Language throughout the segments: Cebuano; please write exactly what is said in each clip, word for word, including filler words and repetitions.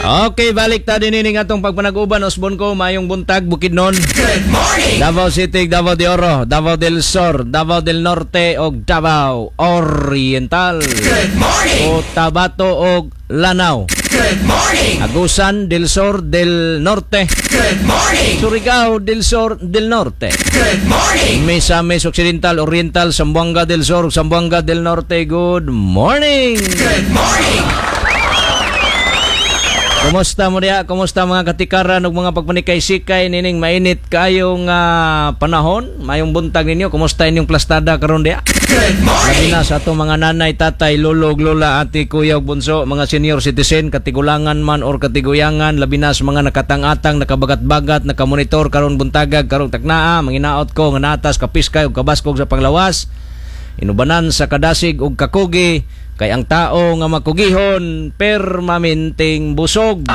Okay, balik ta din ini atong pagpanaguban. Osbon ko, mayong buntag, Bukidnon. Good morning. Davao City, Davao de Oro, Davao del Sur, Davao del Norte ug Davao Oriental. Good morning. Cotabato ug Lanao. Good morning. Agusan del Sur del Norte. Good morning. Surigao del Sur del Norte. Good morning. Misamis Occidental, Oriental, Zamboanga del Sur, Zamboanga del Norte. Good morning. Good morning. Kumusta mo diha? Kumusta mga katikaran ug mga pagpanikay-sikay nining mainit kayong ah, panahon? Mayong buntag ninyo. Kumusta inyong plastada karon diha? Good Labi morning. na sa atong mga nanay, tatay, lolo, ug lola, ate, kuya ug bunso, mga senior citizen, katigulangan man or katiguyangan, labi na sa mga nakatang-atang, nakabagat-bagat, nakamonitor karon buntagag, karong taknaa, manginaot ko nga natas, kapiskay ug kabaskog sa panglawas. Inubanan sa kadasig ug kakugi kay ang tao nga makugihon permanenteng busog.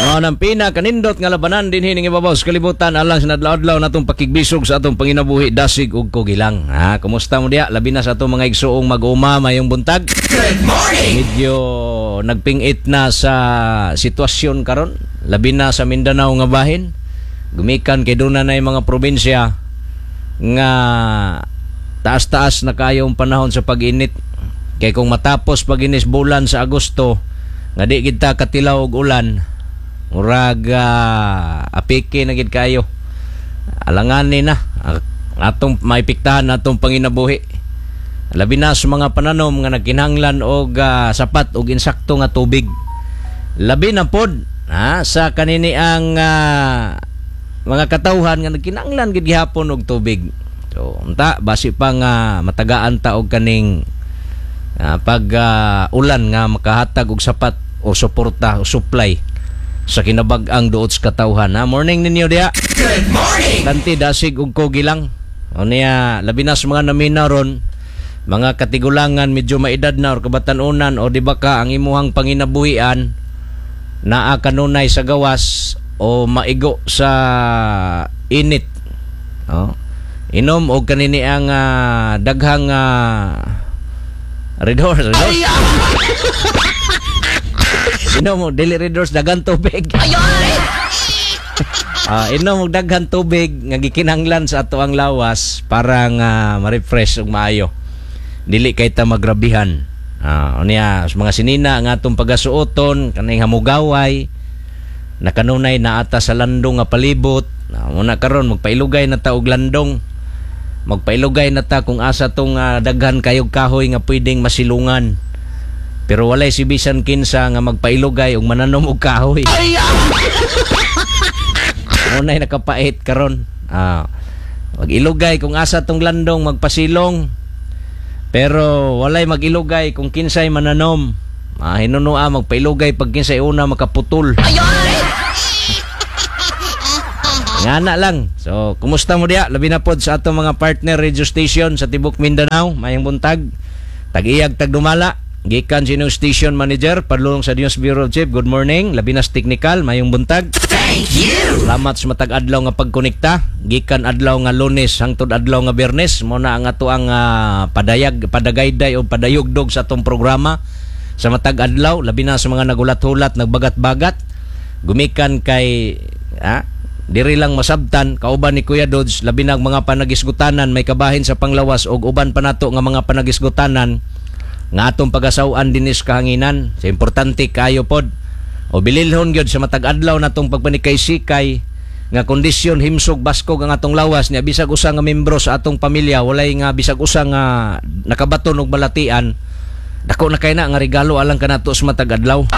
Mao nang pinakanindot nga labanan dinhi ning ibabaw sa kalibutan alang sa adlaw-adlaw natong pakigbisog sa atong panginabuhi, dasig ug kugi lang. Ha, kumusta mo diha? Labi na sa atong mga igsuong mag-uma, mayong buntag. Good morning. Medyo nagpingit na sa sitwasyon karon, labi na sa Mindanao nga bahin. Gumikan kay duna na mga probinsya nga taas-taas na kayong panahon sa pag-init. Kay kung matapos pag-inis bulan sa Agosto nga di gid ta katilaw og ulan, murag ah, apiki na gid kayo. Alangani na ah, atong maipiktahan atong panginabuhi. Labi na sa mga pananom nga nagkinahanglan og ah, sapat og insakto nga tubig. Labi na pod ha, sa kanini ang ah, mga katawhan nga nagkinahanglan gid gihapon og tubig. So, unta basi pa nga matagaan ta og kaning ah, pag ah, ulan nga makahatag og sapat o suporta o supply sa kinabag-ang duot sa katawhan. Ha? Morning ninyo diha. Good morning. Kanti dasig og kugi lang. O niya, labi na sa mga namina ron, mga katigulangan medyo maedad na or kabatanunan o di ba ka ang imuhang panginabuhian naa kanunay sa gawas o maigo sa init. Oh. Inom og kanini ang ah, daghang uh, Red Horse, Red Horse. Inom og dili Red Horse, daghan tubig. Ah, inom og daghan tubig nga gikinahanglan sa ato ang lawas para nga ma-refresh ug maayo. Dili kay ta magrabihan. Ah, unya sa mga sinina nga atong pagasuoton kaning hamugaway nakanunay na ata sa landong nga palibot. Ah, muna karon magpailugay na ta og landong. Magpailugay na ta kung asa tong ah, daghan kayog kahoy nga pwedeng masilungan. Pero walay si bisan kinsa nga magpailugay og mananom og kahoy. Unay nakapait karon. Ah, mag-ilugay kung asa tong landong magpasilong. Pero walay mag-ilugay kung kinsay mananom. Ah, hinunua magpailugay pag kinsay una makaputol. Ngana lang. So, kumusta mo diya? Labi na pod sa atong mga partner radio station sa Tibok Mindanao, mayong buntag. Tag-iyag tagdumala. Gikan sa inyong station manager, padulong sa News Bureau Chief. Good morning. Labi na sa technical, mayong buntag. Thank you. Salamat sa matag adlaw nga pagkonekta. Gikan adlaw nga Lunes hangtod adlaw nga Biyernes, mo na ang ato ang ah, padayag, padagayday o padayugdog sa atong programa sa matag adlaw, labi na sa mga nagulat-hulat, nagbagat-bagat. Gumikan kay ah, diri lang masabtan kauban ni Kuya Dodge, labi na ang mga panagisgutanan may kabahin sa panglawas og uban pa nato nga mga panagisgutanan nga atong pagasaw-an dinis kahanginan. Sa importante kayo pod. O bililhon gyud sa matag adlaw natong pagpanikay-sikay nga kondisyon himsog baskog ang atong lawas niya, bisag usa nga membro sa atong pamilya walay nga bisag usa nga nakabaton og balatian, dako na kay na nga regalo alang kanato sa matag adlaw.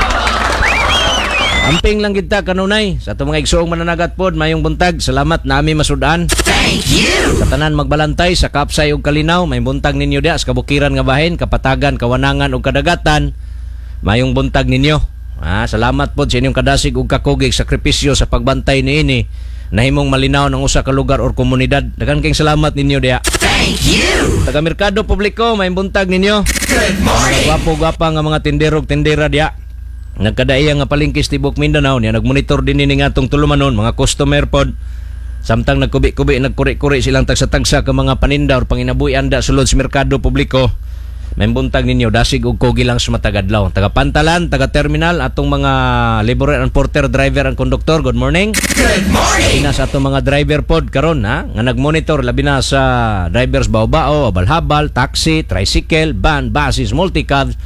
Amping lang gid ta kanunay sa atong mga igsoong mananagat pod, mayong buntag. Salamat nami masudan. Thank you. Sa tanan magbalantay sa Kapsay ug Kalinaw, may buntag ninyo diha sa kabukiran nga bahin, kapatagan, kawanangan ug kadagatan. Mayong buntag ninyo. Ah, salamat pod sa inyong kadasig ug kakugig sakripisyo sa pagbantay niini nahimong malinaw ng usa ka lugar or komunidad. Daghan kayong salamat ninyo diha. Thank you. Taga Merkado Publiko, may buntag ninyo. Good morning. Gwapo-gwapa nga mga tindero ug tindera diha. Nagkadaiya nga palengke sa tibok Mindanao niya, nagmonitor din ni nga atong tulumanon, mga customer pod, samtang nagkubi-kubi, nagkuri-kuri silang tagsa-tagsa ka mga paninda or panginabuhi anda sulod sa merkado publiko. May buntag ninyo, dasig og kugi lang sa matag adlaw. Taga Pantalan, taga Terminal, atong mga laborer and porter, driver and conductor, good morning. Good morning. Labi na sa atong mga driver pod karon ha, nga nagmonitor labi na sa drivers bao-bao, habal-habal, taxi, tricycle, van, buses, multicabs,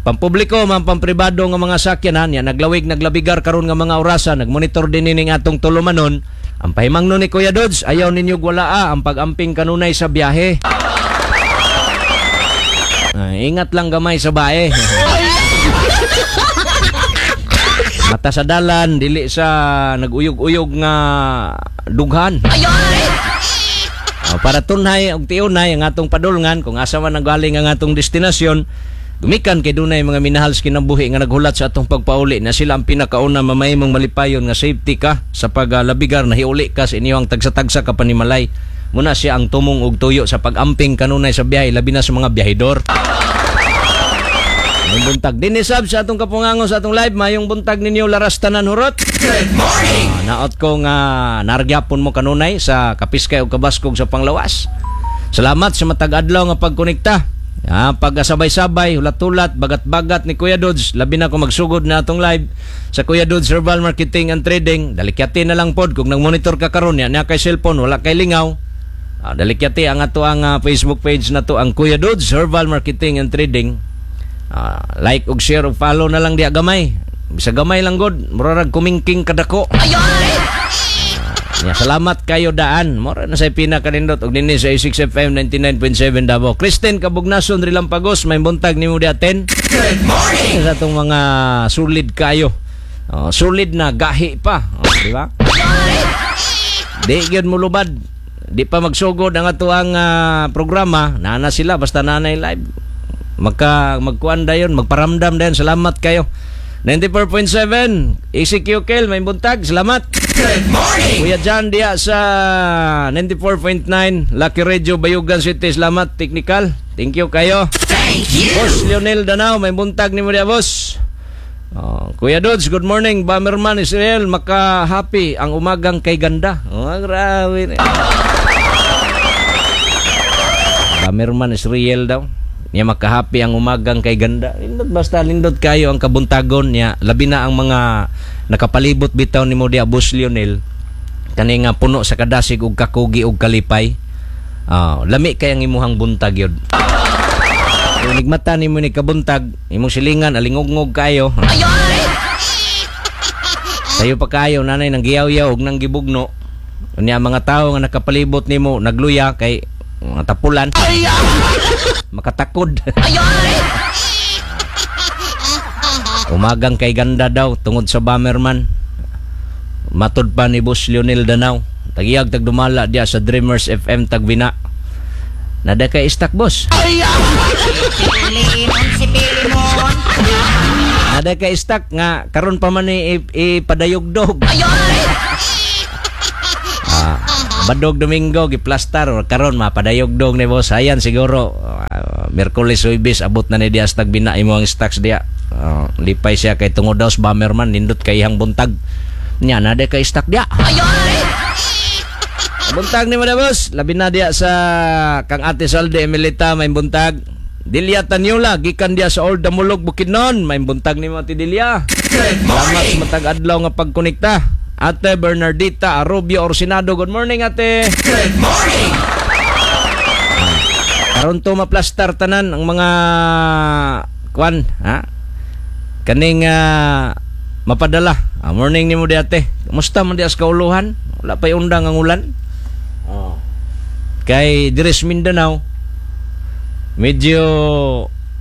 pampubliko man pampribado nga mga sakyanan ya naglawig, naglabigar karon nga mga orasa, nagmonitor din ining atong tulumanon. Ang pahimangno ni Kuya Dodds, ayaw ninyo walaa ang pag-amping kanunay sa biyahe. Ah, ingat lang gamay sa bae. Mata sa dalan, dili sa naguyog-uyog nga dughan. Oh, para tunhay og tiunay ang atong padulngan kung asa man nanggaling ang atong destinasyon, gumikan kay dunay mga minahal sa kinabuhi nga naghulat sa atong pagpauli na sila ang pinakauna mamahimong malipayon nga safety ka sa paglabigar na hiuli ka sa inyong tagsa-tagsa ka panimalay. Muna siya ang tumong og tuyo sa pag-amping kanunay sa biyahe, labi na sa mga biyahedor. Mayong buntag din ni sab sa atong kapungango sa atong live, mayong buntag ninyo laras tanan hurot. Good morning. Ah, naot ko nga nargyapon mo kanunay sa kapiskay o kabaskog sa panglawas. Salamat sa matag adlaw nga pagkonekta. Ah, pagkasabay-sabay, hulat-hulat, bagat-bagat ni Kuya Dodds. Labi na kung magsugod na atong live sa Kuya Dodds Herbal Marketing and Trading. Dalikyati na lang pod kung nag-monitor ka karon niya kay cellphone, wala kay lingaw. Ah, dalikyati ang ato ang ah, Facebook page na to, ang Kuya Dodds Herbal Marketing and Trading. Ah, like ug share ug follow na lang diya gamay. Bisa gamay lang god, murag kumingking kadako. Ya, salamat kayo daan. Mora na sa pinakanindot og dinhi sa A six F M ninety-nine point seven Davao. Kristen Kabugnason Rilampagos, may buntag nimo di aten. Good morning. Sa atong mga solid kayo. Oh, solid na gahi pa, oh, di ba? Di gyud mulubad. Di pa magsugod ang ato ang ah, programa, naana sila basta nanay live. Magka magkuan dayon, magparamdam dayon. Salamat kayo. ninety-four point seven E C Q Kel, may buntag. Salamat. Good morning. Kuya John diya sa ninety-four point nine Lucky Radio Bayugan City. Salamat technical. Thank you kayo. Thank you. Boss Lionel Danao, may buntag nimo diya, boss. Oh, Kuya Dodds, good morning. Bomberman Israel, maka-happy ang umagang kay ganda. Oh, grabe. Bomberman Israel daw. Niya maka-happy ang umagang kay ganda. Lindot basta lindot kayo ang kabuntagon niya. Labi na ang mga nakapalibot bitaw nimo diya, Boss Lionel. Kani nga puno sa kadasig ug kakugi ug kalipay. Ah, lami kay ang imuhang buntag yun. Kung nigmata nimo ni kabuntag, imong silingan alingugngog kayo. Sayo pa kayo nanay nang giyaw-yaw ug nang gibugno. Unya ang mga tawo nga nakapalibot nimo nagluya kay mga tapulan. Makatakod. Umagang kay ganda daw tungod sa Bomberman. Matod pa ni Boss Lionel Danao. Tagiyag tagdumala diya sa Dreamers F M Tagbina. Nada kay istak, boss. Pilimon si Pilimon. Nada kay istak nga karon pa man ni ipadayogdog. Ah, Badog Domingo giplastar or karon mapadayogdog ni boss. Ayan siguro uh, Miyerkules, Huwebes abot na ni diya sa Tagbina imo ang stocks diya. Ah, lipay siya kay tungod daw sa Bomberman nindot kay iyang buntag. Nya nada kay stock diya. Buntag ni mo na, boss. Labi na diya sa kang Ate Salde Emilita, may buntag. Delia Tanyola gikan diya sa Old Damulog Bukidnon, may buntag nimo, Ate Delia. Good Salamat sa morning. matag adlaw nga pagkonekta. Ate Bernardita Arobio Orsinado, good morning, ate. Good morning. Karon to maplastar tanan ang mga kwan, ha? Kaning ah, mapadala. Ah, morning nimo di ate. Kumusta man di as kauluhan? Wala pa'y undang ang ulan. Oh. Kay diri sa Mindanao medyo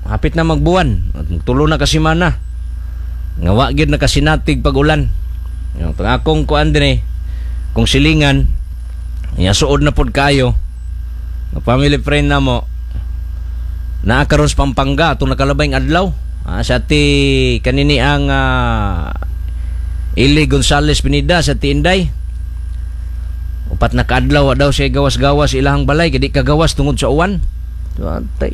hapit na magbuwan. Tulo na ka semana. Nga wa gyud nakasinatig pag ulan. Yung akong kuan din eh, kung silingan, ya suod na pod kayo. Nga family friend na mo, naa karon sa Pampanga atong nakalabay ng adlaw. Ah, sa ti kanini ang ah, Ili Gonzales Pinida sa ti Inday. Upat na kaadlaw daw siya gawas-gawas ilahang balay kay di kagawas tungod sa uwan. Atay.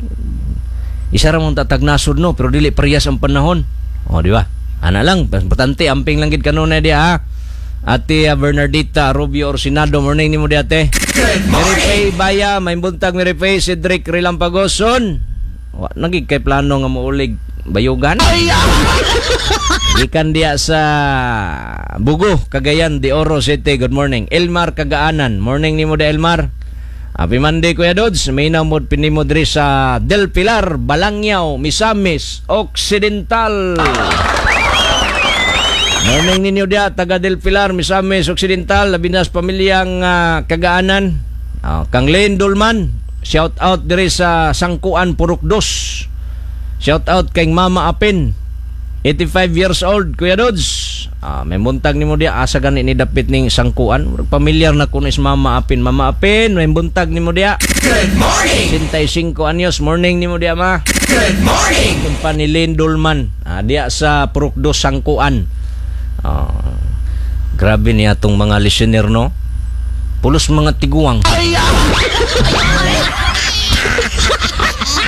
Isa ra mong tatagnasod no, pero dili parehas ang panahon. O, di ba? Ana lang, importante amping lang gid kanunay diha ha. Ate ah, Bernardita Rubio Orsinado, morning nimo di ate. Good Mary morning. Faye Baya, may buntag Mary Faye, Cedric Relampagoson. Wa na gyud kay plano nga muulig Bayugan. Gikan diya sa Bugo, Cagayan de Oro City. Good morning. Elmar Kagaanan. Morning nimo da, Elmar. Happy Monday, Kuya Dodds. May namod pinimo diri sa Del Pilar, Balangyaw, Misamis Occidental. Morning ninyo diya, taga Del Pilar, Misamis Occidental, labi na sa pamilyang ah, Kagaanan. Uh, Kang Len Dolman, shout out diri sa Sangkuan, Purok Dos. Shout out kay Mama Apin, eighty-five years old, Kuya Dodds. Ah, may buntag nimo diya, asa gani ni dapit ning Sangkuan? Murag pamilyar na kuno is Mama Apin. Mama Apin, may buntag nimo diya. Good morning. sesenta y singko anyos, morning nimo diya, ma. Good morning. Itong pa ni Len Dolman, ah, diya sa Purok Dos, Sangkuan. Ah, grabe niya atong mga listener, no? Pulos mga tiguang.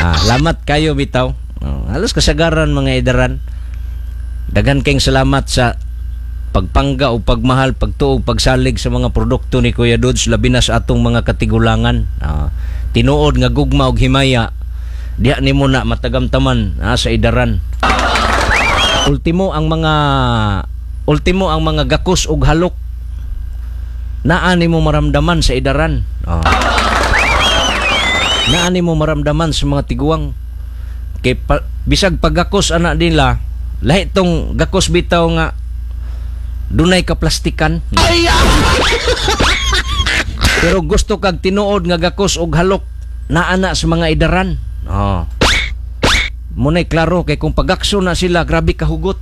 Ah, lamat kayo bitaw. Oh, halos kasagaran mga idaran. Daghan kayong salamat sa pagpangga o pagmahal, pagtuog, pagsalig sa mga produkto ni Kuya Dodge, labi na sa atong mga katigulangan. Ah, tinuod nga gugma og himaya diha nimo na matagamtaman ah, sa idaran. Ultimo ang mga ultimo ang mga gakos og halok naa nimo maramdaman sa idaran. Oh. Naa nimo maramdaman sa mga tiguang. Kay pa, bisag paggakos ana nila, lahi tong gakos bitaw nga dunay kaplastikan. Pero gusto kag tinuod nga gakos og halok, naa na sa mga idaran. Oh. Muna'y klaro kay kung pagakso na sila, grabe kahugot.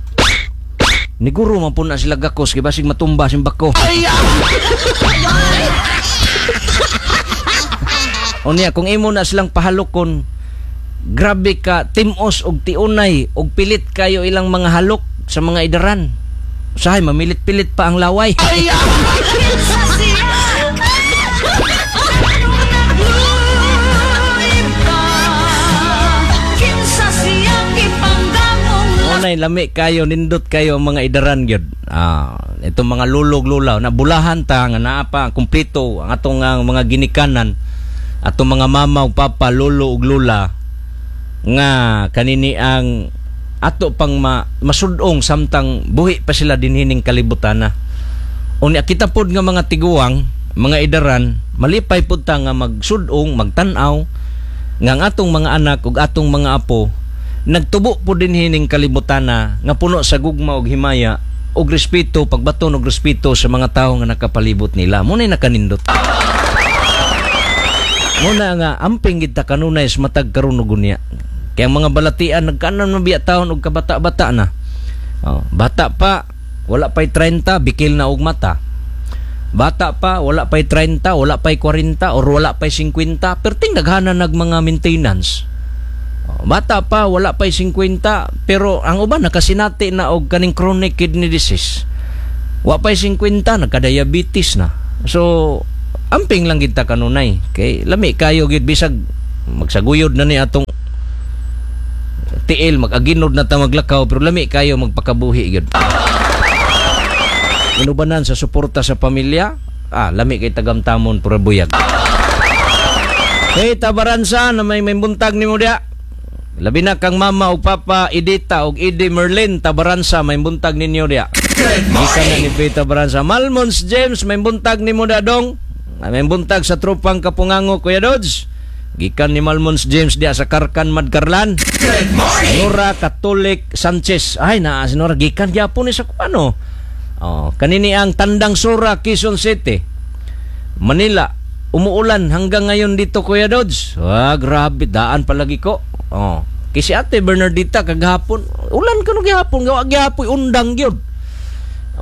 Niguro man po na sila gakos kay basig matumba simbako. O niya, kung imo na silang pahalokon, grabe ka timos og tiunay og pilit kayo ilang mga halok sa mga idaran. Usahay mamilit-pilit pa ang laway. Unay lami kayo, nindot kayo ang mga idaran gyud. Ah, itong mga lulog lulaw na bulahan ta nga naa pa kumpleto ang atong ang mga ginikanan, atong mga mama ug papa, lolo ug lola nga kanini ang ato pang ma, masudong samtang buhi pa sila dinhining kalibutana. Unya kita pod nga mga tiguang, mga idaran, malipay pod ta nga magsudong, magtan-aw nga ang atong mga anak ug atong mga apo nagtubo po dinhining kalibutana nga puno sa gugma ug himaya ug respeto, pagbaton og respeto sa mga tawo nga nakapalibot nila. Muna'y nakanindot. Muna nga amping gid ta kanunay sa matag karon ug unya. Kaya ang mga balatian nagkanan mabiya taon og kabata-bata na. Oh, bata pa, wala pa'y trenta, bikil na og mata. Bata pa, wala pa'y trenta, wala pa'y kwarenta or wala pa'y singkwenta, perting daghana nag mga maintenance. Oh, bata pa, wala pa'y singkwenta, pero ang uban nakasinati na og kaning chronic kidney disease. Wa pa'y singkwenta, nagka-diabetes na. So, amping lang gid ta kanunay. Kay lami kayo gid bisag magsaguyod na ni atong tiil, mag-aginod na ta maglakaw, pero lami kayo magpakabuhi gid. Inubanan sa suporta sa pamilya, ah, lami kay tagamtamon pura buyag. Hey, Tabaransa na may may buntag nimo diha. Labi na kang mama ug papa Edita ug Edi Merlin Tabaransa, may buntag ninyo diha. Good Gikan na morning. ni Faye Tabaransa. Malmons James, may buntag nimo diha dong. May buntag sa tropang Kapungango, Kuya Dodge. Gikan ni Malmons James diha sa Karkan, Madkarlan. Good morning. Nora Catholic Sanchez. Ay, naa si Nora gikan gyapon ni sa kuano. Oh, kanini ang Tandang Sora, Quezon City. Manila. Umuulan hanggang ngayon dito, Kuya Dodge. Ah, grabe, daan palagi ko. Oh, kay si Ate Bernardita kagahapon, ulan kuno gihapon, gawa gihapoy undang gyud.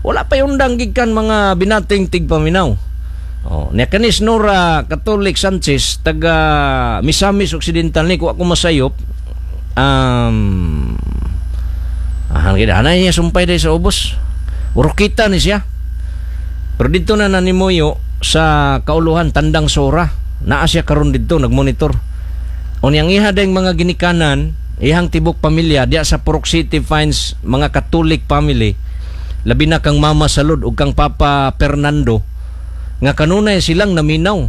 Wala pa undang gikan mga binating tigpaminaw. Oh, niya kanis Nora Catholic Sanchez taga Misamis Occidental ni ko ako masayop. Um, ah, gid anay niya sumpay day sa ubos. Urukita ni siya. Pero dito na nanimuyo sa kauluhan Tandang Sora. Naa siya karon didto nagmonitor. Unyang iha dayng mga ginikanan, ihang tibok pamilya diya sa Purok City finds mga Catholic family. Labi na kang Mama Salud ug kang Papa Fernando nga kanunay silang naminaw.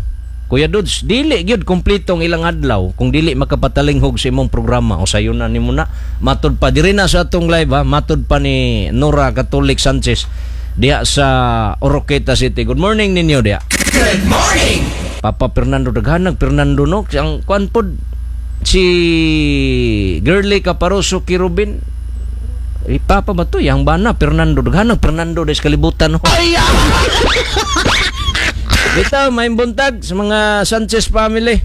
Kuya Dudes, dili gyud kompleto ang ilang adlaw kung dili makapatalinghog sa imong programa o sayo na nimo na. Matud pa diri na sa atong live ha, matud pa ni Nora Catholic Sanchez diha sa Oroquieta City. Good morning ninyo diha. Good morning. Papa Fernando, daghanag Fernando, no. Ang kuan pod, si Girly Caparoso Kirubin. Eh, papa ba to? Yang bana Fernando, daghanag Fernando des kalibutan, no. Bitaw, may buntag sa mga Sanchez family.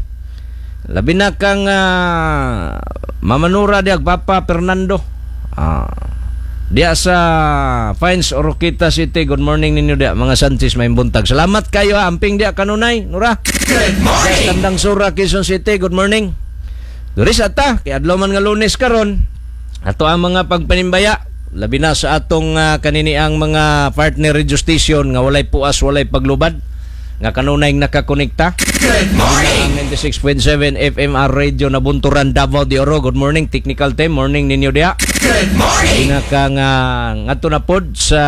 Labi na kang uh, Mama Nora diag Papa Fernando. Ah, diya sa Fines Oroquieta City. Good morning ninyo diya, mga Sanchez, may buntag. Salamat kayo ha. Amping diya kanunay, Nora. Good morning. Tandang Sura, Quezon City. Good morning. Diri sa ta, kay adlaw man nga Lunes karon. Ato ang mga pagpanimbaya, labi na sa atong uh, kaniniang mga partner radio station nga walay puas, walay paglubad, nga kanunay nakakonekta. Good morning. Ang ninety-six point seven F M R Radio Nabunturan, Davao de Oro. Good morning, technical team. Morning ninyo diha. Good morning. Pinaka nga ngadto na pod sa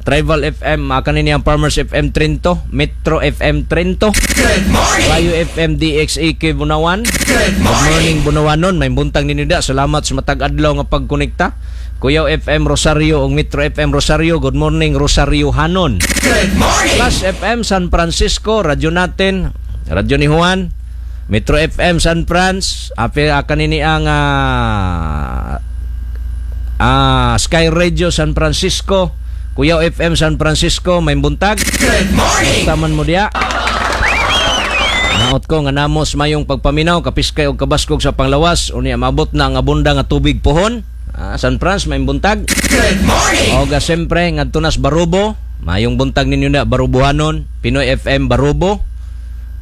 Tribal F M, uh, kanini ang Farmers F M Trento, Metro F M Trento, Good morning. Rayo F M D X A K Bunawan. Good Good morning. morning, Bunawanon, may buntag ninyo diha. Salamat sa matag adlaw nga pagkonekta. Kuyaw F M Rosario ug Metro F M Rosario. Good morning, Rosario Hanon. Good morning. Plus F M San Francisco, radyo natin, radyo ni Juan, Metro F M San Franz, ape kanini ang ah, ah, Sky Radio San Francisco, Kuyaw F M San Francisco, may buntag. Good morning. Taman mo diya. Naot ko nga namos mayong pagpaminaw, kapiskay og kabaskog sa panglawas, unya maabot na ang abunda nga tubig pohon. Ah, San Franz, may buntag. Good morning. Oga siyempre ngadto nas Barubo, mayong buntag ninyo na Barubohanon, Pinoy F M Barubo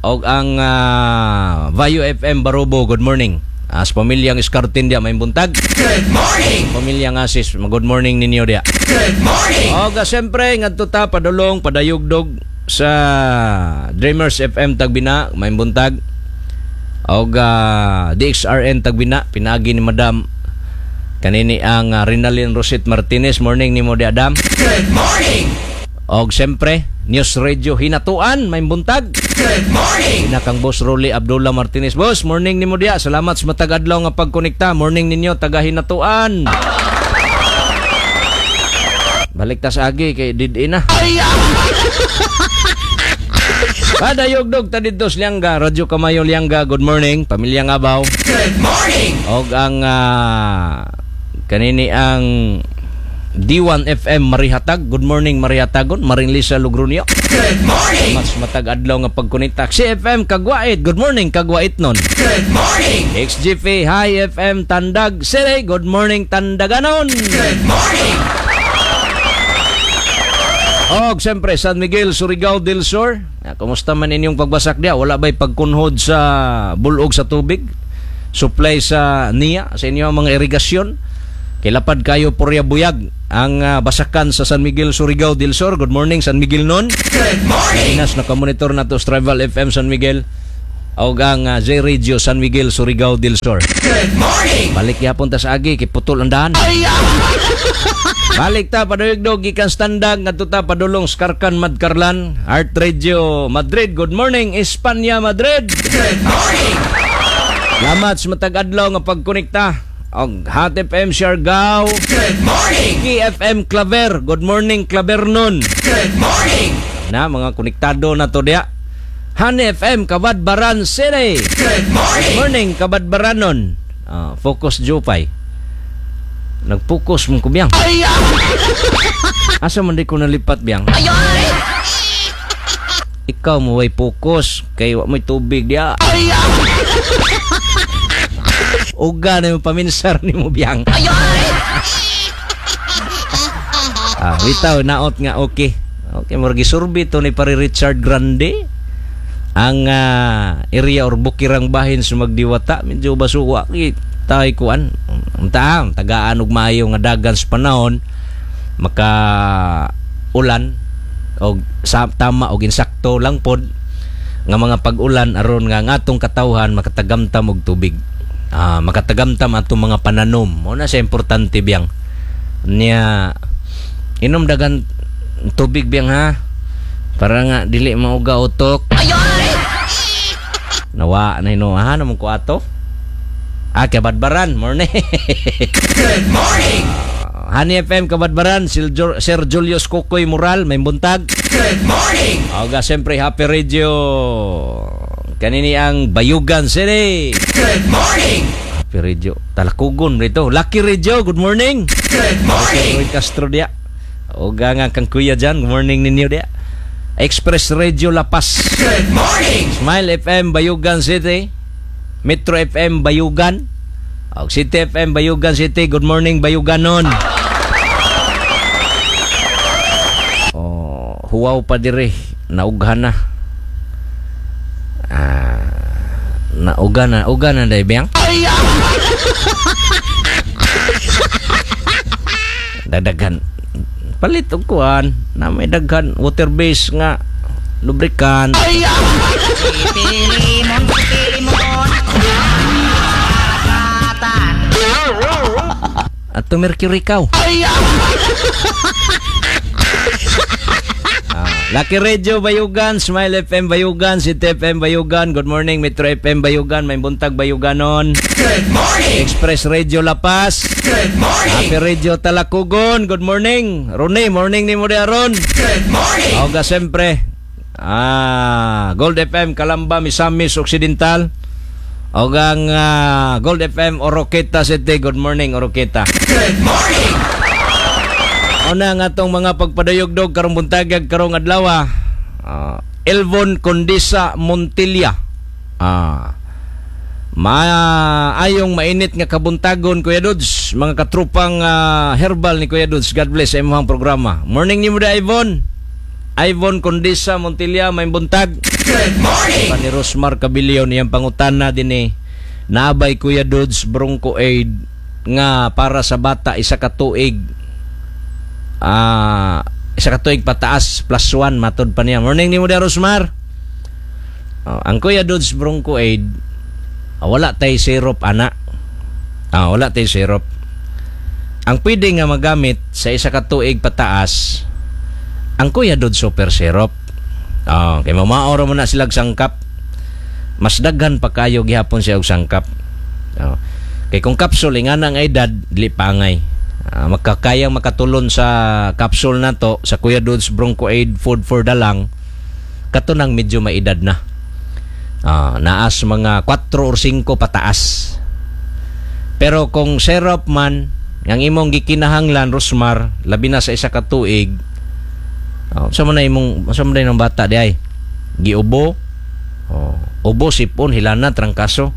og ang ah, Vayo F M Barubo. Good morning. As pamilyang Escartin dia, may buntag. Good morning. Pamilyang Asis, good morning ninyo dia. Good morning. Oga siyempre ngadto ta padulong padayugdog sa Dreamers F M Tagbina, may buntag. Og ah, D X R N Tagbina pinaagi ni Madam kanini ang uh, Rinalyn Rosit Martinez. Morning nimo di, Adam. Good morning. Og siyempre, News Radio Hinatuan, may buntag. Good morning. Pinakang Boss Rolly Abdullah Martinez. Boss, morning nimo diya. Salamat sa matag adlaw nga pagkonekta. Morning ninyo taga Hinatuan. Balik ta sa agi kay did na. Padayogdog ta didto sa Lianga, Radyo Kamayo Lianga. Good morning, pamilya Ngabaw. Good morning. Og ang ah, kanini ang D one F M Marihatag. Good morning, Marihatagon, Maring Lisa Lugronio. Good morning. Mas matag adlaw nga pagkonekta. C F M Kagwait. Good morning, Kagwait nun. Good morning. X G P Hi F M Tandag City. Good morning, Tandaganon. Good morning. Og siyempre San Miguel, Surigao del Sur. Ah, kumusta man inyong pagbasak diya? Wala ba'y pagkunhod sa bulog sa tubig? Supply sa niya sa inyong mga irigasyon? Kilapad kayo purya buyag ang ah, basakan sa San Miguel, Surigao del Sur. Good morning, San Miguel nun. Good morning. Inas nakamonitor na to sa Travel F M San Miguel og ang ah, J Radio San Miguel, Surigao del Sur. Good morning. Balik yapon ta sa agi kay putol ang daan. Balik ta paduyogdog gikan Standag ngadto ta padulong Skarkan Madkarlan, Art Radio Madrid. Good morning, Espanya, Madrid. Good morning. Salamat sa matag adlaw nga pagkonekta. Og Hot F M Siargao, Good morning. K F M Claver. Good morning, Claver nun. Good morning. Na mga konektado na to diya. Han F M Cabadbaran City. Good Good morning. morning, Cabadbaranon. Ah, focus Jupay. Nagpokus mong kubiyang. Asa man di ko nalipat biyang? Ikaw mo way focus kay wa mo'y tubig diya. Uga na yung paminsar ni mo biyang. Ah, bitaw naot nga okay. Okay, murag gisurvey to ni pare Richard Grande ang ah, area or bukirang bahin sa Magdiwata, medyo basuwa ki tay kuan unta tagaan og maayo nga dagan sa panahon, maka ulan og sa tama og insakto lang pod nga mga pag-ulan aron nga ang atong katawhan makatagamtam og tubig, ah, makatagamtam atong mga pananom. Mo na siya importante biyang niya. Inom dagan tubig biyang ha, para nga dili mauga utok. Nawa na hinuha naman ko ato. Ah, Cabadbaran, morning. Good morning. Honey F M Cabadbaran, Sir, Jul- Sir Julius Kukoy Mural, may buntag. Good morning. Oga, siyempre, Happy Radio. Kanini ang Bayugan City. Good morning. Happy Radio. Talakugon rito. Lucky Radio, good morning. Good morning. Roy Castro dia. Oga nga kang kuya dyan, good morning ninyo dia. Express Radio La Paz. Good morning. Smile F M Bayugan City. Metro F M Bayugan. Og City F M Bayugan City. Good morning, Bayuganon. Oh, huwaw pa dire, naughan na. Ah, nauga na, uga na day biyang. Dadaghan. Palit og kuan, na may daghan water base nga lubricant. Pilimon, pilimon. Karagatan. At Mercury kaw. Ah, Lucky Radio Bayugan, Smile F M Bayugan, City F M Bayugan, good morning Metro F M Bayugan, may buntag Bayuganon. Good morning. Express Radio La Paz. Good morning. Happy Radio Talakugon, good morning. Rone, morning ni mo di aron. Good morning. Oga siyempre. Ah, Gold F M Calamba, Misamis Occidental. Ogang ah, Gold F M Oroqueta City, good morning, Oroqueta. Good morning. Una nga atong mga pagpadayogdog karong buntagag karong adlaw. Ah, Elvon Condesa Montilla. Ah. Maayong mainit nga kabuntagon, Kuya Dudes, mga katrupang ah, herbal ni Kuya Dudes. God bless sa imong programa. Morning nimo da, Ivon. Ivon Condesa Montilla, may buntag. Good morning. Pa ni Rosmar Cabilion iyang pangutana dinhi. Naabay, Kuya Dudes, Bronco Aid nga para sa bata isa ka tuig, ah isa ka tuig pataas, plus one matod pa niya. Morning nimo da, Rosmar. Oh, ang Kuya Dudes Bronco Aid, ah, wala tay syrup ana. Ah, wala tay syrup. Ang pwede nga magamit sa isa ka tuig pataas ang Kuya Dudes Super Syrup. Ah, kay mamaoro mo na silag sangkap. Mas daghan pa kayo gihapon siya og sangkap. Oh. Kay kung kapsul ingana ang edad, dili pangay. Ah, makakayang makatulon sa capsule na to sa Kuya Dudes Bronco Aid Food for the Lung, kato nang medyo maedad na. Ah, naas mga four or five pataas. Pero kung syrup man ang imong gikinahanglan, Rosmar, labi na sa isa ka tuig, oh, sa man na imong sa man na imong bata di ay giubo. Oh, ubo, sipon, hilana, trangkaso.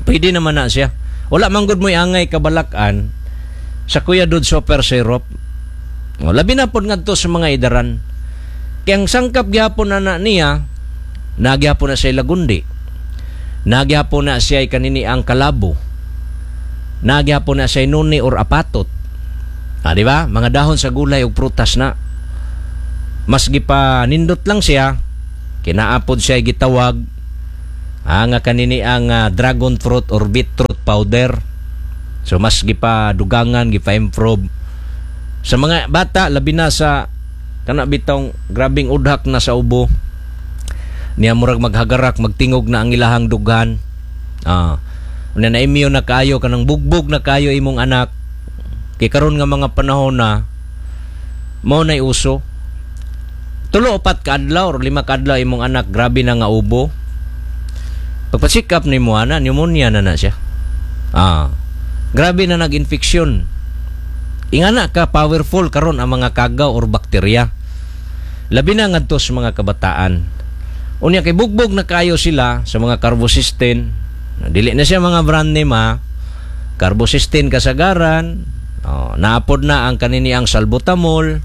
Pwede naman na siya. Wala man gud mo'y angay kabalakan sa Kuya Dudes Super Syrup. Oh, labi na pod ngadto sa mga idaran. Kaya ang sangkap gyapon na na niya, nagyapon na siya lagundi. Nagyapon na siya kanini ang kalabo. Nagyapon na siya nuni or apatot. Ah, di ba? Mga dahon sa gulay ug prutas na. Mas gipa nindot lang siya, kinaapod siya gitawag ah, nga kanini ang ah, dragon fruit or beetroot powder. So mas gipa dugangan, gipa improve sa mga bata, labi na sa kana bitong grabing udhak na sa ubo niya, murag maghagarak, magtingog na ang ilahang dughan. Ah, una na immune na kayo, kanang bugbog na kayo imong anak. Kay karon nga mga panahon na mao nay uso, tulo upat ka adlaw or lima ka adlaw imong anak grabe na nga ubo, pagpa-check up nimo ana, pneumonia na na siya. Ah, grabe na nag-infection. Ingana ka powerful karon ang mga kagaw or bakterya. Labi na ngadto sa mga kabataan. Unya kay bugbog na kayo sila sa mga carbocystin. Dili na siya mga brand name ha. Carbocystin kasagaran. Oh, naapod na ang kanini ang salbutamol.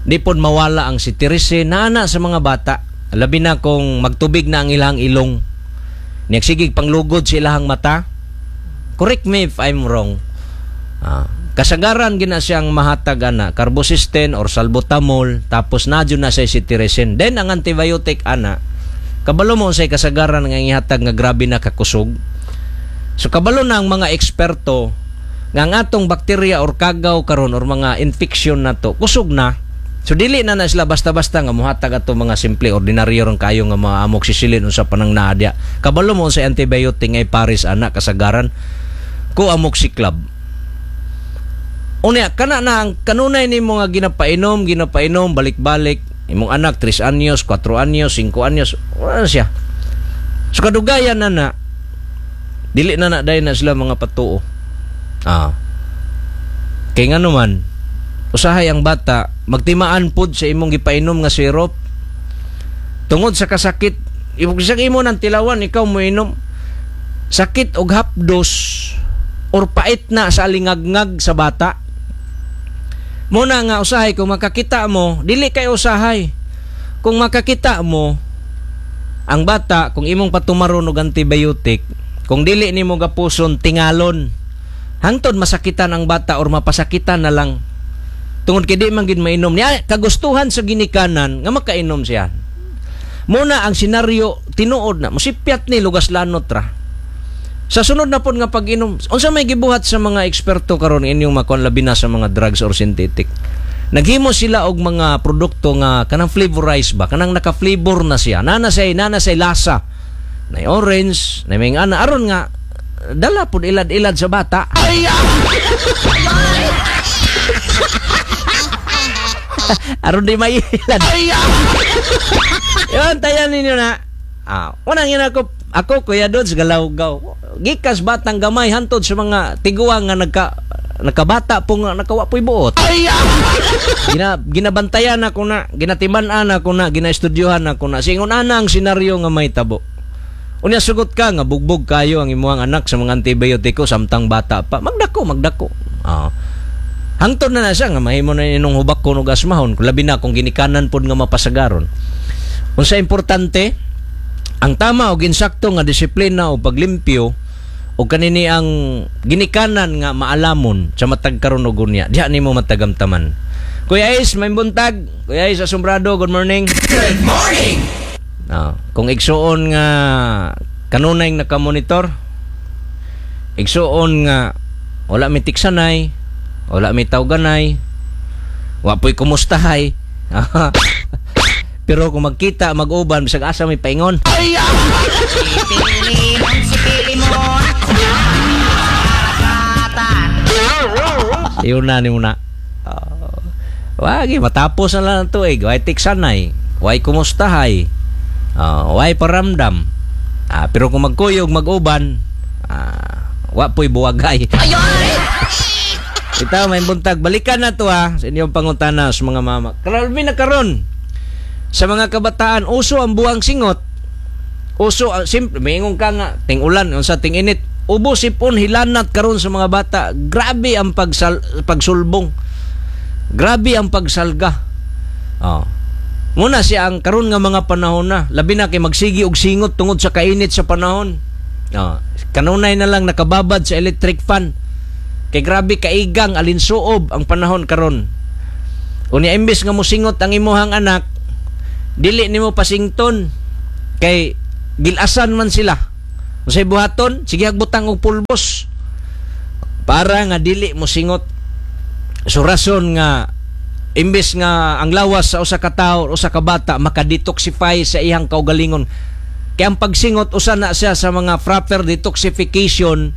Di pod mawala ang cetirizine naana sa mga bata. Labi na kung magtubig na ang ilang ilong. Nagsigig panglugod sa ilahang mata. Correct me if I'm wrong. Ah, kasagaran gina siyang mahatag ana, carbocystin or salbutamol, tapos nadyo na siya cetirizine. Then ang antibiotic ana, kabalo mo say kasagaran nga ihatag nga grabe na kakusog. So kabalo na ang mga eksperto nga ang atong bakterya or kagaw karon or mga infection na to, kusog na. So dili na na sila basta-basta nga muhatag ato mga simple ordinaryo rong kayo nga mga amoxicillin unsa pa nang naa diya. Kabalo mo sa antibiotic ay pares ana kasagaran ko amoxiclav. Unya kana na ang kanunay nimo nga ginapainom, ginapainom balik-balik imong anak tres anyos, kuwatro anyos, singko anyos, wala na siya. So kadugayan na na dili na na dayon na sila mga patuo. Ah. Kay ngano man usahay ang bata magtimaan pod sa imong gipainom nga syrup tungod sa kasakit. Ibig imo nang tilawan, ikaw mo inom, sakit og hapdos or pait na sa alingagngag sa bata. Muna nga usahay kung makakita mo, dili kay usahay kung makakita mo ang bata, kung imong patumaron og antibiotic, kung dili nimo gapuson, tingalon hangtod masakitan ang bata or mapasakitan na lang tungod kay di man gid mainom niya, kagustuhan sa ginikanan nga makainom siya. Muna ang senaryo tinuod na musipyat ni lugas lanot ra sa sunod na pod nga pag-inom. Unsa may gibuhat sa mga eksperto karon inyong makuan, labi na sa mga drugs or synthetic? Naghimo sila og mga produkto nga kanang flavorized ba, kanang naka-flavor na siya, nana say nana say lasa na orange na may ana, aron nga dala pud ilad-ilad sa bata. Aron di mailad. Yun, tayan ninyo na. Ah, unang yun ako, ako Kuya Dodds, galaw-gaw. Gikas batang gamay hantod sa mga tiguang nga nagka nakabata po nga nakawa po'y buot. Gina, ginabantayan ako na, ginatiman-an ako na, ginaestudyohan ako na. Singon ana ang senaryo nga may tabo. Unya sugot ka nga bugbog kayo ang imuhang anak sa mga antibiotiko samtang bata pa. Magdako, magdako. Ah. Hangtod na na siya nga mahimo na inong hubak ko og asmahon, labi na kung ginikanan pod nga mapasagaron. Unsa importante, ang tama og insakto nga disiplina o paglimpyo o kanini ang ginikanan nga maalamon sa matag karon og unya, diha nimo matagamtaman. Kuya Ace, may buntag. Kuya Ace Asombrado, good morning. Good morning. Ah, kung igsuon nga kanunay nakamonitor, igsuon nga wala mi tiksanay, wala mi tawganay, wa po'y kumustahay. Pero kung magkita, mag-uban, bisag asa may paingon. Si Pilimon, si Pilimon. Yun na, ni muna. Uh, wagi, matapos na lang ang tuig. Way tiksanay, way kumustahay, uh, way paramdam. Ah, pero kung magkuyog, mag-uban, ah, wa po'y buwagay. Ito, may buntag. Balikan na to ha, sa inyong pangutana sa mga mama. Grabe na karon sa mga kabataan, uso ang buwang singot. Uso, uh, simple, maingon ka nga, ting ulan, unsa ting init. Ubo sipon, hilanat karon sa mga bata. Grabe ang pagsal, pagsulbong. Grabe ang pagsalga. Oh. Muna siya ang karon nga mga panahon na. Labi na kay magsigi og singot tungod sa kainit sa panahon. Oh. Kanunay na lang nakababad sa electric fan. Kay grabe kaigang alinsuob ang panahon karon. Unya imbes nga mosingot ang imuhang anak, dili nimo pasington kay gilasan man sila. Unsay buhaton? Sige hagbutang og pulbos para nga dili mosingot. So rason nga imbes nga ang lawas sa usa ka tawo, usa ka bata makadetoxify sa iyang kaugalingon. Kay ang pagsingot usa na siya sa mga proper detoxification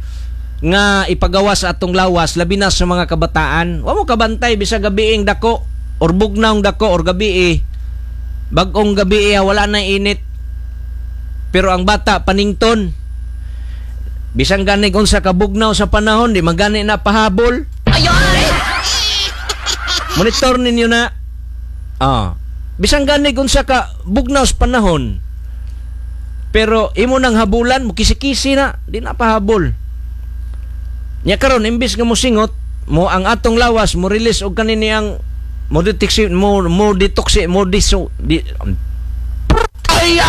nga ipagawa sa atong lawas, labi na sa mga kabataan. Wa mo kabantay bisag gabiing dako or bugnawng dako or gabi, bagong gabi, wala na init. Pero ang bata panington. Bisan gani unsa ka bugnaw sa panahon, di magani na pahabol. Monitor ninyo na. Ah. Bisan gani unsa ka bugnaw sa panahon. Pero imo nang habulan, mukisi-kisi na, di na pahabol. Nya karon imbis nga mosingot, mo ang atong lawas mo release og kanini ang mo detoxi mo mo detoxi mo diso di, um, Si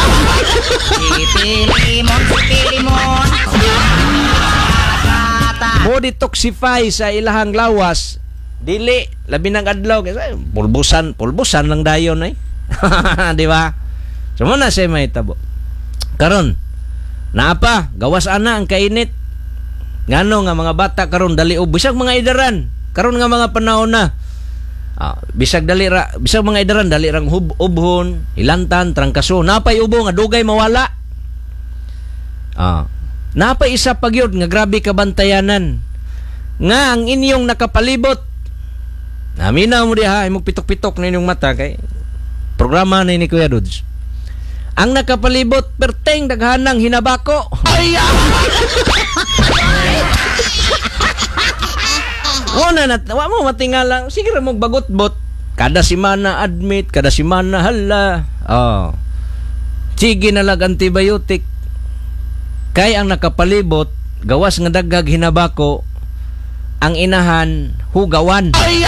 Pilimon, si Pilimon. mo detoxify sa ilahang lawas. Dili labi ng adlaw kasi pulbusan, pulbusan lang dayon ay. Di ba? So mo na siya mahitabo. Karon naa pa gawas ana ang kainit. Ngano nga mga bata karon dali og bisag mga idaran karon nga mga panahon na. Ah, bisag dali ra, bisag mga idaran dali rang hub, ubhon, hilantan, trangkaso, napay ubo nga dugay mawala. Ah, napay isa pa gyud nga grabe ka bantayanan nga ang inyong nakapalibot. Naminaw mo diha, imong pitok-pitok na inyong mata kay programa na ni Kuya Dudes. Ang nakapalibot perteng daghanang hinabako. Ay! Wala na, wa mo matingala. Sige ra mo bagot-bot. Kada simana admit, kada simana hala. Oh. Sige na lag antibiotic. Kay ang nakapalibot, gawas nga daghag hinabako, ang inahan hugawan. Ay!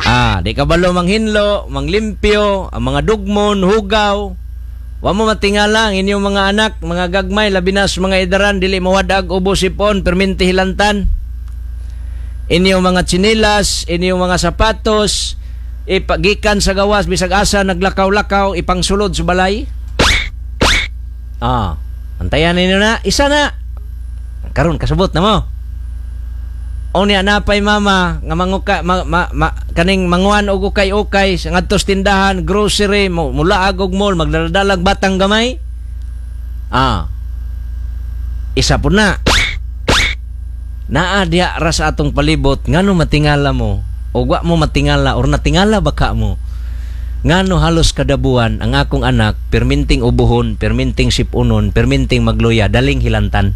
Ah, di kabalo manghinlo, manglimpyo, ang mga dugmon, hugaw. Wa mo matingala ang inyong mga anak, mga gagmay, labi na sa mga idaran, dili mawadag ubo sipon, perminti hilantan. Inyong mga tsinilas, inyong mga sapatos, ipagikan sa gawas, bisag asa naglakaw-lakaw, ipangsulod sa balay. Ah, antayan ninyo na, isa na. Karon kasabot na mo. O niya napay mama nga manguka ma, ma, ma, kaning manguan og ukay-ukay sa ngadto sa tindahan, grocery, mulaag og mall, magdaladalag batang gamay. Ah. Isa po na. Naa diha ra sa atong palibot ngano matingala mo o wa mo matingala or natingala ba ka mo? Ngano halos kada buwan ang akong anak perminting ubuhon, perminting sipunon, perminting magluya, daling hilantan.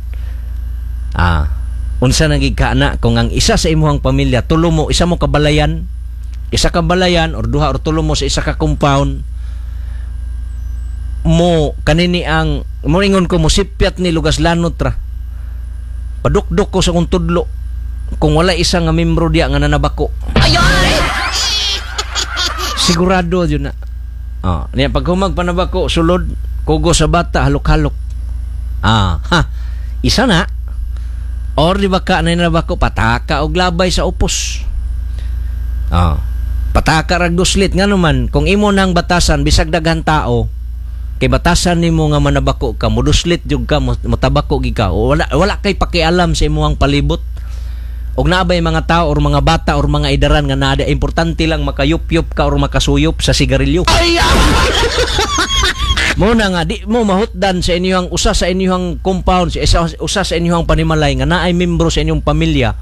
Ah. Unsa nagig ka ana kung ang isa sa imuhang pamilya tulo mo, isa mo kabalayan, isa ka balayan or duha or tulo mo sa isa ka compound mo kanini ang mo ingon ko mo sipyat ni lugas lanot ra. Padukduk ko sa kong tudlo kung wala isa nga membro diya nga nanabako. Sigurado yun na. Oh, niya pag humag panabako sulod kugo sa bata halok-halok. Ah, ha. Isa na. Or di ba ka na nabako pataka og labay sa upos. Ah, pataka rag duslit nga naman kung imo nang batasan bisag daghan tao kay batasan nimo nga manabako ka muduslit jud ka motabako gid ka wala wala kay pakialam sa imong palibot. Og naabay mga tao or mga bata or mga idaran nga naa importante lang makayupyup ka or makasuyop sa sigarilyo. Ay! Muna nga di mo mahutdan sa inyong usa sa inyong compound, sa isa, usa sa inyong panimalay nga naay membro sa inyong pamilya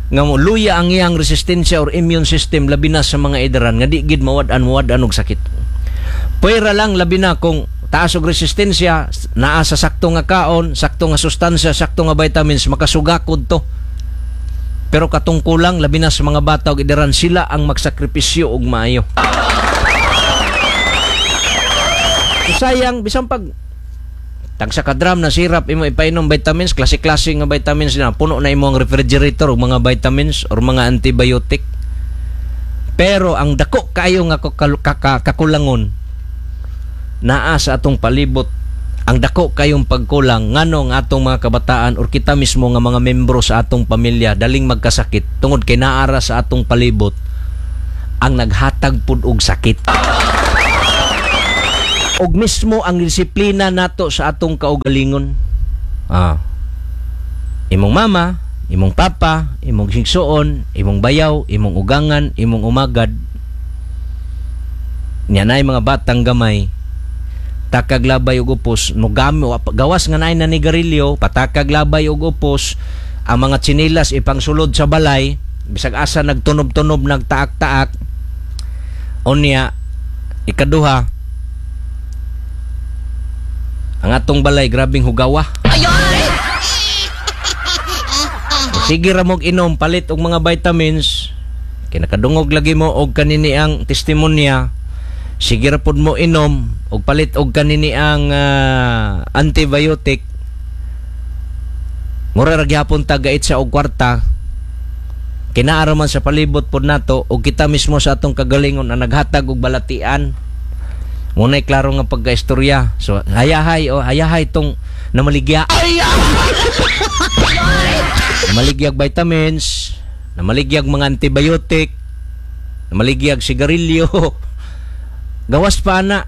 nga mo luya ang iyang resistensya or immune system labi na sa mga idaran nga di gid mawad-an mawad-an og sakit. Pwera lang labi na kung taas og resistensya naa sa sakto nga kaon, sakto nga sustansya, sakto nga vitamins makasugakod to. Pero katungkulang labi na sa mga bata og idaran sila ang magsakripisyo og maayo. Sayang bisan pag tagsa ka drum na sirap imo ipainom vitamins, klase-klase nga vitamins na puno na imo ang refrigerator og mga vitamins or mga antibiotic. Pero ang dako kaayo nga kakulangon naa sa atong palibot, ang dako kayong pagkulang ngano ang atong mga kabataan or kita mismo nga mga membro sa atong pamilya daling magkasakit tungod kay naara sa atong palibot ang naghatag pud og sakit. Og mismo ang disiplina nato sa atong kaugalingon. Ah. Imong mama, imong papa, imong sigsuon, imong bayaw, imong ugangan, imong umagad. Nya nay mga batang gamay takag labay og upos, nugami gawas nga naay nanigarilyo, patakag labay og upos, ang mga tsinilas ipangsulod sa balay, bisag asa nagtunob-tunob, nagtaak-taak. Unya ikaduha, ang atong balay grabing hugawa. Sige ra mog inom, palit og mga vitamins. Kinakadungog lagi mo og kanini ang testimonya. Sige ra pud mo inom og palit og kanini ang uh, antibiotic. Mura ra gyapon ta gait sa og kwarta. Kinaara man sa palibot pod nato og kita mismo sa atong kagalingon ang naghatag og balatian. Muna'y klaro nga pagkaistorya. So, hayahay o hayahay tong namaligya. Ay! Namaligyag vitamins, namaligyag mga antibiotic, namaligyag sigarilyo. Gawas pa na.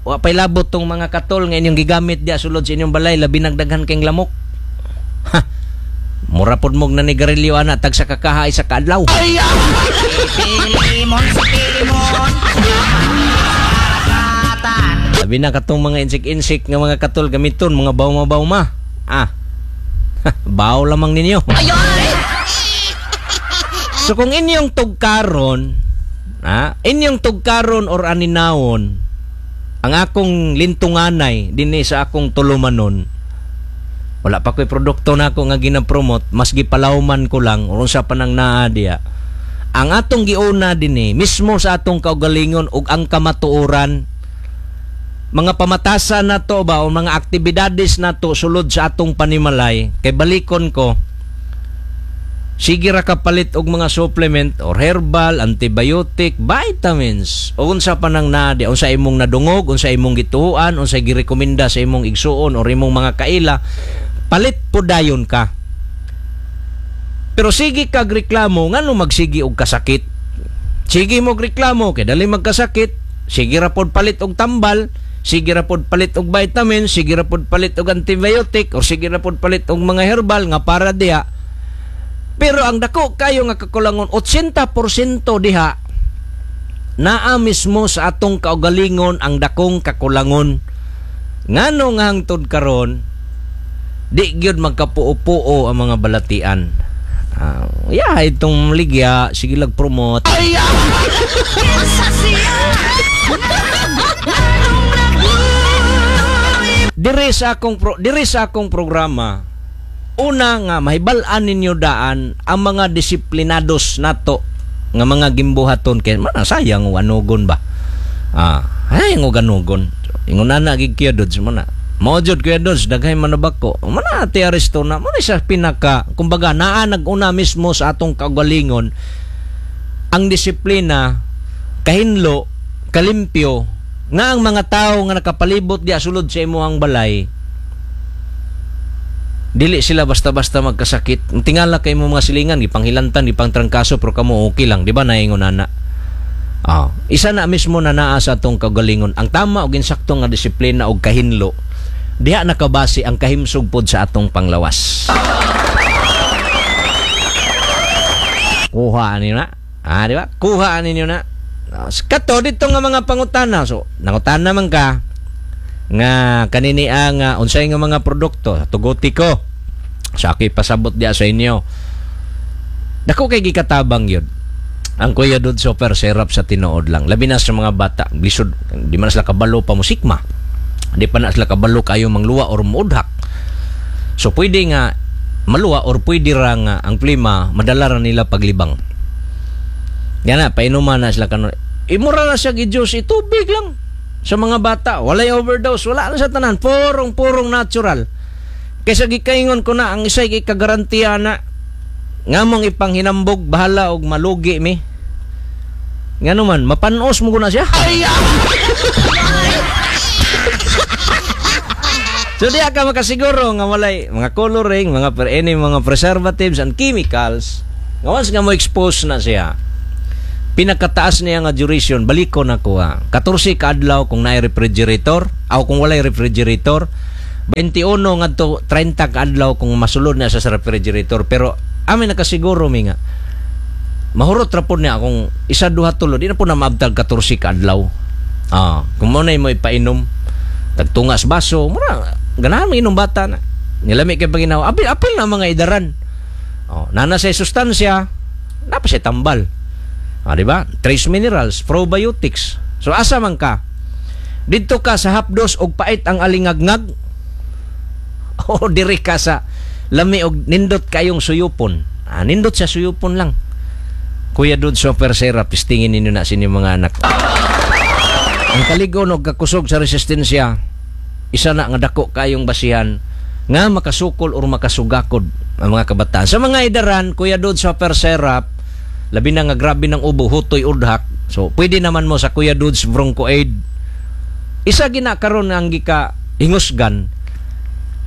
Wa pa'y labot tong mga katol nga inyong gigamit diya sulod sa inyong balay, labi nagdaghan kayong lamok. Ha. Mura pod mog nanigarilyo ana tag sa kakaha isa ka adlaw. Si Pilimon, si Pilimon. Karagatan. Labi na katong mga insik-insik nga mga katol gamiton mga bawma-bawma. Ah. Baw lamang ninyo. So kung inyong tugkaron, ah, inyong tugkaron or aninawon, ang akong lintunganay dinhi sa akong tulumanon, wala pa ko'y produkto na ako nga ginapromote, mas gipalawman ko lang or unsa pa nang naa diya. Ang atong giuna dinhi mismo sa atong kaugalingon ug ang kamatuoran, mga pamatasan nato ba o mga aktibidades nato sulod sa atong panimalay, kay balikon ko, sige ra ka palit og mga supplement or herbal, antibiotic, vitamins, o unsa pa nang naa di, unsa imong nadungog, unsa imong gituoan, unsa girekomenda sa imong igsuon or imong mga kaila, palit po dayon ka. Pero sige kag reklamo, ngano magsige og kasakit? Sige mo reklamo kay dali magkasakit, sige ra pod palit og tambal, sige ra pod palit og vitamin, sige ra pod palit og antibiotic, or sige ra pod palit og mga herbal nga para diha. Pero ang dako kayo nga kakulangon, eighty percent diha naa mismo sa atong kaugalingon ang dakong kakulangon. Ngano nga hangtod karon di gyud magkapuo-puo ang mga balatian. Ah, yeah, itong ligya, sige lag promote. Kinsa siya? Nganong nagluoy? Diri sa akong pro, diri sa akong programa, una nga mahibal-an ninyo daan ang mga disiplinados nato nga mga gimbuhaton, kay man sayang og anugon ba. Ah, ay og anugon. Ingon na gid Kuya Dodds mo na. Mao jud, Kuya Dodds, daghay man na bako. Mo na Ate Aristo na mo na siya pinaka kumbaga naa nag-una mismo sa atong kaugalingon ang disiplina, kahinlo, kalimpyo nga ang mga tao nga nakapalibot diya sulod sa imuhang balay, dili sila basta-basta magkasakit. Tingala kay mo mga silingan, gipanghilantan, gipangtrangkaso, pero kamo okay lang, di ba naingon ana? Ah, isa na mismo na naa sa atong kaugalingon ang tama og insakto nga disiplina og kahinlo. Diha nakabase ang kahimsog pod sa atong panglawas. Kuha ninyo na. Ah, di ba? Kuha ninyo na. Ah, kato dito nga mga pangutana. So, nangutana man ka nga kanini ang uh, unsay nga mga produkto, tuguti ko. Sa aki pasabot diya sa inyo. Dako kay gikatabang yun ang Kuya Dod Super Syrup sa tinuod lang. Labi na sa mga bata, lisod, di man sila kabalo pa musikma. Di pa na sila kabalo kayo mangluwa or muudhak. So pwede nga maluwa or pwede ra nga ang plima madala ra nila paglibang. Yan na, painuman na sila kanon. Imura na siya gi-juice, itubig lang. Sa mga bata, walay overdose, wala na sa tanan, purong-purong natural. Kaysa gikaingon ko na, ang isa'y ikagarantiya na, nga mong ipanghinambog, bahala og malugi mi. Nga naman, mapanos mo ko na siya. So diya ka makasiguro nga walay mga coloring, mga per any mga preservatives and chemicals. Nga once nga mo expose na siya, pinakataas niya nga duration, baliko na ko ha. fourteen ka adlaw kung naay refrigerator, aw kung walay refrigerator, twenty-one ngadto thirty ka adlaw kung masulod na siya sa refrigerator. Pero amin nakasiguro mi nga mahurot ra pod niya kung isa duha tulo, di na po na maabtag fourteen ka adlaw. Ah, kung mo na mo ipainom tagtungas baso, mura ganahan mo inom bata na. Nilami kay paginaw, apil apil na mga idaran. Oh, nana sa sustansya, napa siya tambal. Ah, di ba? Trace minerals, probiotics. So asa man ka? Didto ka sa hapdos og pait ang alingagnag. O diri ka sa lami og nindot kayong suyupon. Ah, nindot sa suyupon lang. Kuya Dod Super Syrup, pistingin ninyo na sa inyong mga anak. Ang kaligon og kakusog sa resistensya, isa na nga dako kayong basihan nga makasukol or makasugakod ang mga kabataan. Sa mga idaran, Kuya Dod Super Syrup, labi na nga grabe ng ubo, hutoy udhak. So pwede naman mo sa Kuya Dod's Bronco Aid. Isa gina karon ang gika hingusgan.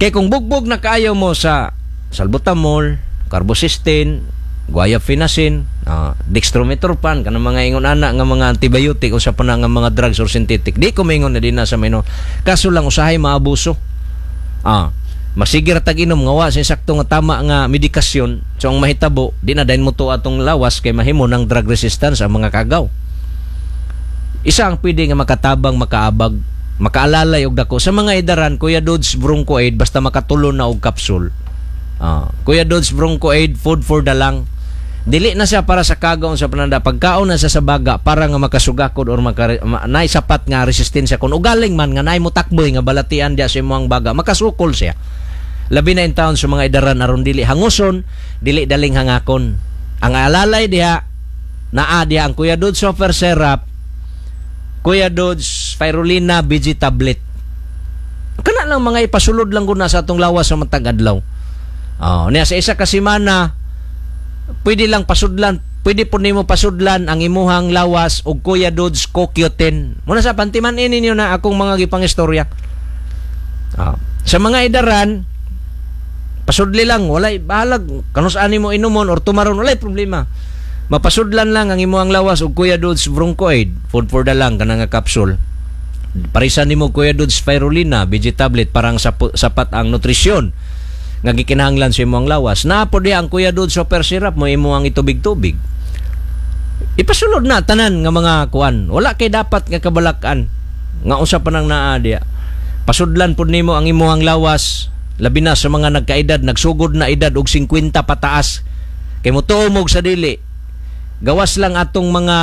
Kay kung bugbog na kaayo mo sa salbutamol, carbocisteine, guaifenesin, uh, dextromethorphan, kanang mga ingon ana nga mga antibiotic usa pa na nga mga drugs or synthetic. Di ko maingon na din na sa mino. Kaso lang usahay maabuso. Ah. Magsige ra tag inom nga wa sa sakto nga tama nga medikasyon. So ang mahitabo, di na dayon mo atong lawas kay mahimo ng drug resistance ang mga kagaw. Isa ang pwede nga makatabang, makaabag, makaalalay og dako sa mga idaran, Kuya Dodds Bronco Aid, basta makatulon na og kapsul. Ah, Kuya Dodds Bronco Aid, food for the lung. Dili na siya para sa kagaw sa pananda, pagkaon na siya sa baga para nga makasugakod or maka, ma, naay sapat nga resistensya kun ugaling man nga naay motakboy nga balatian diya sa imong baga, makasukol siya. Labi na in taon sa mga idaran aron dili hanguson, dili daling hangakon. Ang alalay diha naa diha ang Kuya Dodds Super Syrup, Kuya Dodds Spirulina B G tablet. Kana lang mga ipasulod lang guna sa atong lawas sa matag adlaw. Oh, niya sa isa ka semana pwede lang pasudlan, pwede po nimo pasudlan ang imuhang lawas og Kuya Dodds C O Q ten. Muna sa pantiman ini ninyo na akong mga gipangistorya. Ah. Sa mga idaran, pasudli lang, walay bahalag kanus ani mo inumon or tumaron, walay problema. Mapasudlan lang ang imuhang lawas og Kuya Dodds Bronchoid, food for the lung kana nga capsule. Parisan nimo Kuya Dodds Spirulina B G tablet parang sapo, sapat ang nutrisyon nga gikinahanglan sa imong lawas. Naa po diha ang Kuya Dodds Super Syrup mo imo ang itubig-tubig. Ipasulod na tanan nga mga kuan. Wala kay dapat nga kabalakan nga usa pa nang naa diha. Pasudlan pud nimo ang imuhang lawas, labi na sa mga nagkaedad, nagsugod na edad og singkwenta pataas. Kay motuo mo sa dili, gawas lang atong mga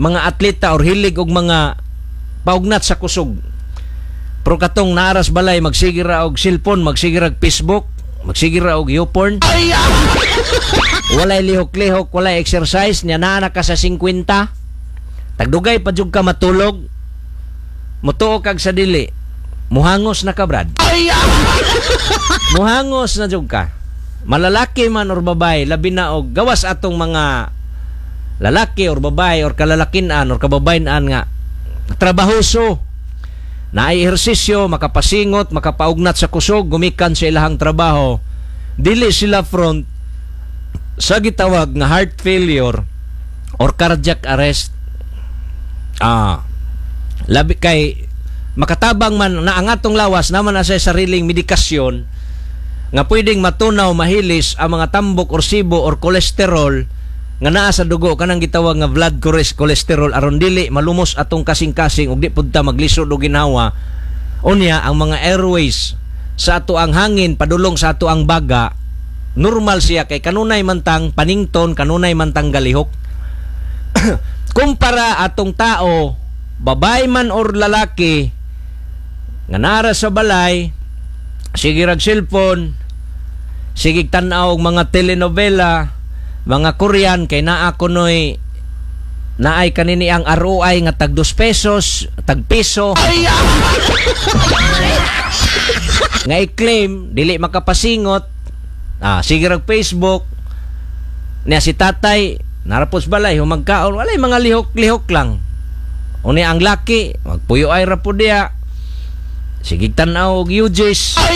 mga atleta or hilig og mga paugnat sa kusog. Pero katong naaras balay magsige ra og cellphone, magsige ra og Facebook, magsige ra og YouPorn. Walay lihok-lihok, walay exercise, niya naa na ka sa singkwenta. Tagdugay pa jud ka matulog. Mutuo kag sa dili. Muhangos na ka, Brad. Muhangos na jud ka. Malalaki man or babae, labi na og gawas atong mga lalaki or babae or kalalakinan or kababayan nga trabahoso, naay ehersisyo, makapasingot, makapaugnat sa kusog gumikan sa ilahang trabaho, dili sila front sa gitawag nga heart failure or cardiac arrest. Ah, labi kay makatabang man na ang atong lawas naman na sa sariling medikasyon nga pwedeng matunaw, mahilis ang mga tambok or sibo or kolesterol nga naa sa dugo, kanang gitawag nga blood cholesterol, aron dili malumos atong kasing-kasing ug di pud ta maglisod og ginhawa. Unya ang mga airways sa ato, ang hangin padulong sa ato ang baga, normal siya kay kanunay man tang panington, kanunay man tang galihok kumpara atong tao, babae man or lalaki, nga nara sa balay, sige rag cellphone, sige tan-aw og mga telenovela, mga Korean, kay naa kunoy naay kanini ang R O I nga tag dos pesos, tag piso nga i-claim, dili makapasingot. Ah, sige rag Facebook. Niya si tatay narapos balay humagkaon, walay mga lihok-lihok lang. Unya ang laki magpuyo ay ra pud diya, sige tan-aw og U Gs. Ah.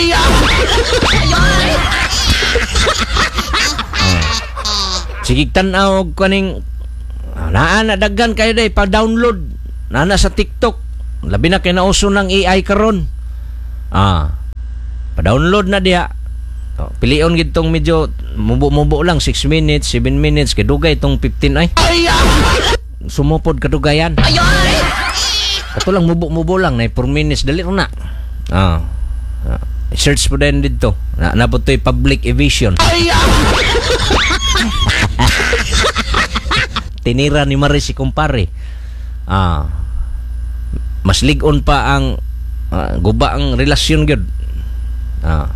Sige tan-aw og kaning ah, naa na daghan kayo day pa-download naa na sa TikTok, labi na kay nauso ng A I karon. Ah, pa-download na diha. Oh, pilion gid tong medyo mubo-mubo lang, six minutes, seven minutes, kay dugay tong fifteen ay. Sumupod kadugayan. Kato lang mubo-mubo lang na four minutes, dali na. Ah. Ah. Search po din dito. Na napod to'y public evasion. Tinira ni Maris si kumpare. Ah. Mas lig-on pa ang ah, guba ang relasyon gyud. Ah.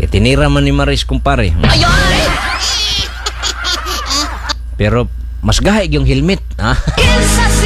Tinira man ni Maris kumpare. Pero mas gahi yung helmet. Ah. Kinsa.